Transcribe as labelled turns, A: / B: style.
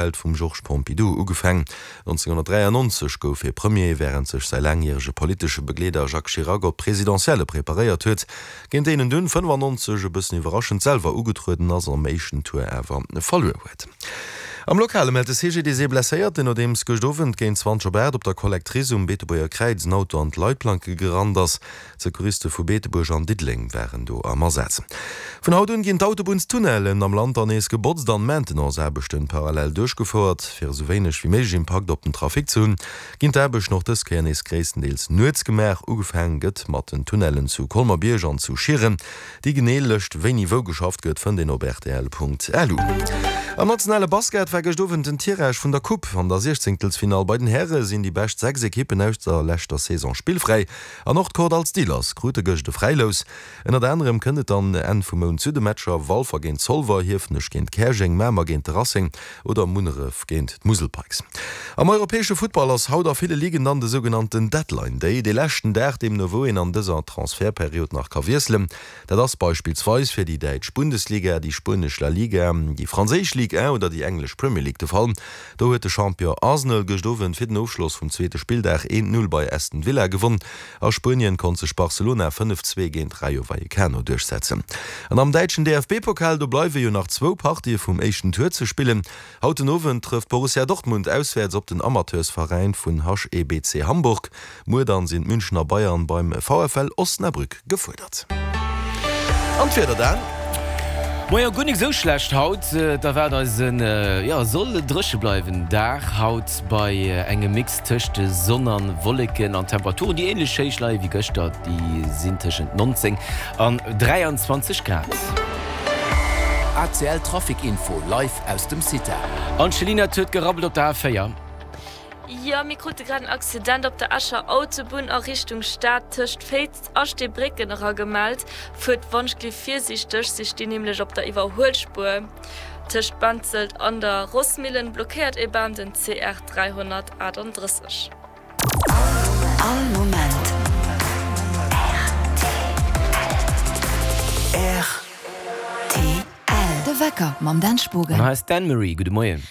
A: Welt vum Georges Pompidou ugefaang. 1993 gouf hie Premier, wärend sech säi laangjärege politesche Begleeder Jacques Chirac op d'Presidentielle preparéiert huet, géint déi en dunn 95 e bëssen iwwerraschend selwer ugetrueden ass an am éischten Tour awer verluer huet. Am Lokale mellt de CGDIS ee Blesséierten, nodeems gëscht Owend géint 20 op 8 op der Collectrice um Beetebuerger Kräiz en Auto an d'Leitplanke gerannt ass. D'Secouriste vu Beetebuerg an Diddeleng waren do am Asaz. Vun haut un ginn d'Autobunnstunnellen am Land dann nees gebotzt an Maintenance-Aarbechten parallel duerchgefouert. Fir esou wéineg wéi méiglech Impakt op den Trafic ze hunn, ginn d'Aarbechten och dës Kéier nees gréisstendeels nuets gemaach. Ugefaang gëtt mat den Tunnellen zu Colmer-Bierg an zu Schieren. Déi genee Lëscht wéini wou geschafft gëtt fënnt een op rtl.lu. Am nationale Basket war gëscht Owend den Tirage vun der Coupe. An der Siechzéngtelsfinall bei den Häre sinn déi bescht 6 Ekippen aus der leschter Saison spillfräi. An och d'Kordall Steelers krute gëscht e Fräilous. Ënnert anerem kënnt et dann Enn vum Mount zu de Matcher Walfer géint Zolwer, Hiefenech géint Käerjeng, Mamer géint de Racing oder Munneref géint d'Musel Pikes. Am europäesche Futtball ass haut a ville Ligen dann de sougenannten Deadline Day, dee leschten Dag deemno wou een an dëser Transfertperiod nach ka wiesselen. Dat ass beispillsweis fir déi däitsch Bundesliga, déi spuenesch La Liga, déi franséisch Ligue 1 oder déi englesch Premier League de Fall. Do huet de Champion Arsenal gëscht Owend fir den Ofschloss vum zweete Spilldag 1, 0 bei Aston Villa gewonn. A Spuenien konnt sech Barcelona 5, 2 géint Rayo Vallecano duerchsetzen. An am däitschen DFB-Pokal, do bleiwe jo nach zwou Partië vum éischten Tour ze spillen. Haut den Owend trëfft Borussia Dortmund auswäerts op den Amateursveräin vun HEBC Hamburg. Muer dann sinn d'Münchener Bayern beim VfL Osnabrück gefuerdert. An d'Wieder dann?
B: Moien, guer nik sou schlecht haut. Et erwaart eis en, jo, soll dréche bleiwen Dag haut bei engem Mix tëscht Sonn an Wolleken an Temperaturen déi ähnlech héich leie wéi gëschter, déi sinn tëschent 19 an 23 Grad.
C: ACL Trafic Info live aus dem CITA.
B: Angelina, et huet gerabbelt op der A4.
D: Jo, mir krute grad en Accident op der Escher Autobunn a Richtung Stad tëscht Féiz a Steebrécken eragemellt. Fuert wannschgli virsiichteg, si stinn nämlech op der Iwwerhuelspuer. Tëscht Benzelt an der Rossmillen blockéiert e Bam den CR 338.
C: All Moment rtl.
E: De Wecker mam Dan Spogen.
B: An hei ass d'Anne-Marie. Gudde Moien.